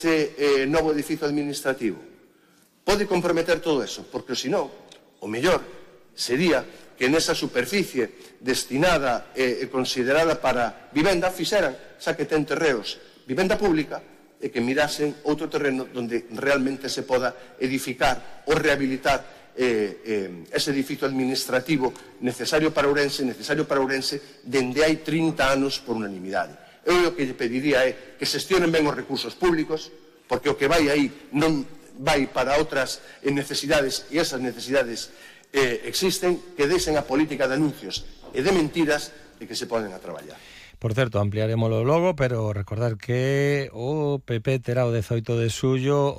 ese novo edificio administrativo pode comprometer todo eso, porque senón, o mellor sería que nesa superficie destinada e considerada para vivenda fixeran, xa que ten terreos, vivenda pública, e que mirasen outro terreno onde realmente se poda edificar ou rehabilitar ese edificio administrativo necesario para Ourense dende hai 30 anos por unanimidade. Eu o que lle pediría é que xestionen ben os recursos públicos, porque o que vai aí non vai para outras necesidades, e esas necesidades existen, que deixen a política de anuncios e de mentiras e que se poden a traballar. Por certo, ampliaremoslo logo, pero recordar que o PP terá o 18 de xullo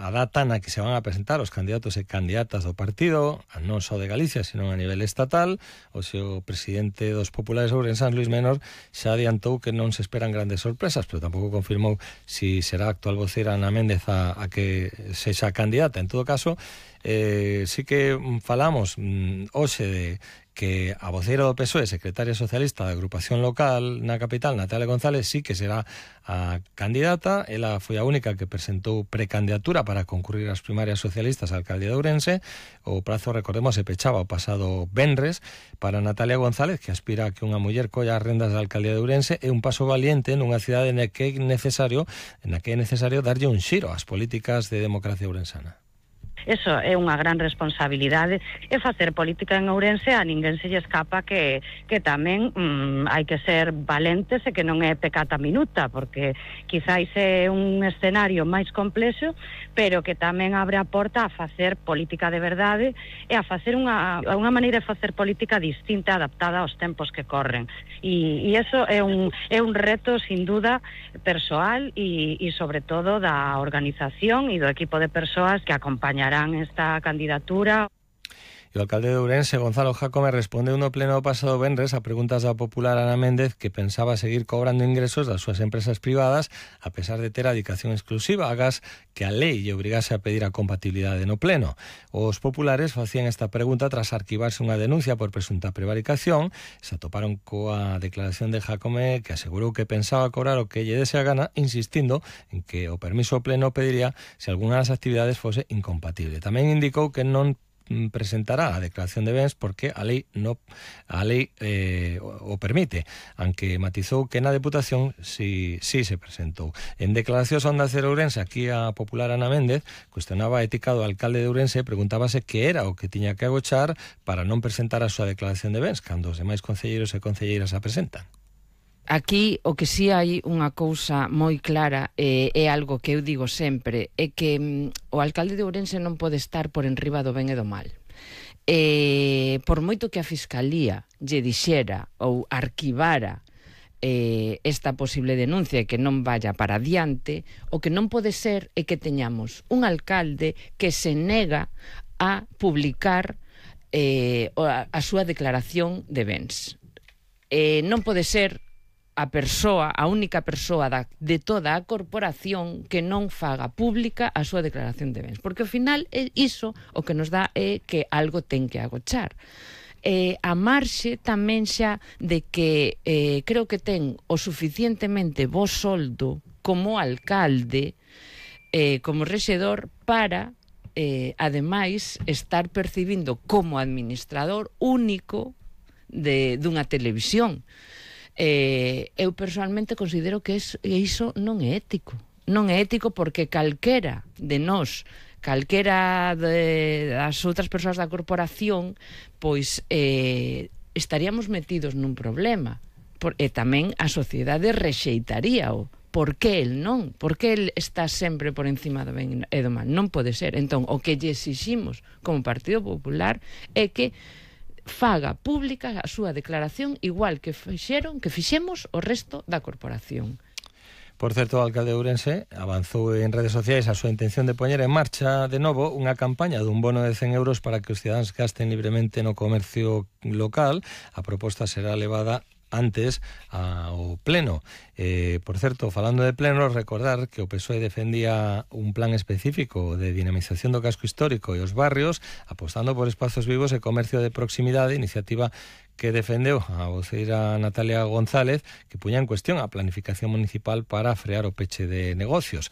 a data na que se van a presentar os candidatos e candidatas do partido, non só de Galicia, sino a nivel estatal. O seu presidente dos populares ourensans, Luis Menor, xa adiantou que non se esperan grandes sorpresas, pero tampouco confirmou si será a actual voceira Ana Méndez a que sexa candidata. En todo caso, sí que falamos hoxe de que a voceira do PSOE, secretaria socialista da agrupación local na capital, Natalia González, sí que será a candidata. Ela foi a única que presentou precandidatura para concurrir ás primarias socialistas á alcaldía de Ourense. O prazo, recordemos, se pechaba o pasado venres para Natalia González, que aspira a que unha muller colla as rendas da alcaldía de Ourense. É un paso valiente nunha cidade na que é necesario darlle un xiro ás políticas de democracia ourensana. Eso é unha gran responsabilidade, e facer política en Ourense a ninguén se lle escapa que tamén hai que ser valentes e que non é pecata minuta, porque quizáis é un escenario máis complexo, pero que tamén abre a porta a facer política de verdade e a facer unha maneira de facer política distinta, adaptada aos tempos que corren. E eso é un reto, sin duda, persoal e sobre todo da organización e do equipo de persoas que acompañarán esta candidatura. E o alcalde de Ourense, Gonzalo Jácome, respondeu no pleno pasado venres a preguntas da popular Ana Méndez, que pensaba seguir cobrando ingresos das súas empresas privadas a pesar de ter a dedicación exclusiva, agás que a lei lle obrigase a pedir a compatibilidade no pleno. Os populares facían esta pregunta tras arquivarse unha denuncia por presunta prevaricación. Se atoparon coa declaración de Jácome, que asegurou que pensaba cobrar o que lle dese a gana, insistindo en que o permiso pleno pediría se algunha das actividades fose incompatible. Tamén indicou que non presentará a declaración de bens porque a lei o permite, aunque matizou que na Deputación sí se presentou. En declaracións a Onda Cero Ourense, aquí a popular Ana Méndez cuestionaba a ética do alcalde de Ourense e preguntábase que era o que tiña que agochar para non presentar a súa declaración de bens cando os demais concelleiros e concelleiras a presentan. Aquí o que si hai unha cousa moi clara é algo que eu digo sempre, é que o alcalde de Ourense non pode estar por enriba do ben e do mal. Por moito que a Fiscalía lle dixera ou arquivara esta posible denuncia e que non vaya para adiante, o que non pode ser é que teñamos un alcalde que se nega a publicar a súa declaración de bens. Non pode ser a única persoa de toda a corporación que non faga pública a súa declaración de bens, porque ao final iso o que nos dá é que algo ten que agochar. A marxe tamén xa de que creo que ten o suficientemente bo soldo como alcalde, como rexedor, para ademais estar percibindo como administrador único dunha televisión. Eu personalmente considero que iso non é ético. Non é ético porque calquera de nós, calquera das outras persoas da corporación, pois estaríamos metidos nun problema. E tamén a sociedade rexeitaríao. Por que el non? Por que el está sempre por encima do ben e do mal? Non pode ser. Entón, o que lle exiximos como Partido Popular é que faga pública a súa declaración igual que fixemos o resto da corporación. Por certo, o alcalde de Ourense avanzou en redes sociais a súa intención de poñer en marcha de novo unha campaña dun bono de 100 euros para que os cidadáns gasten libremente no comercio local. A proposta será levada antes ao pleno. Por certo, falando de pleno, recordar que o PSOE defendía un plan específico de dinamización do casco histórico e os barrios, apostando por espazos vivos e comercio de proximidade, iniciativa que defendeu a voceira Natalia González, que puña en cuestión a planificación municipal para frear o peche de negocios.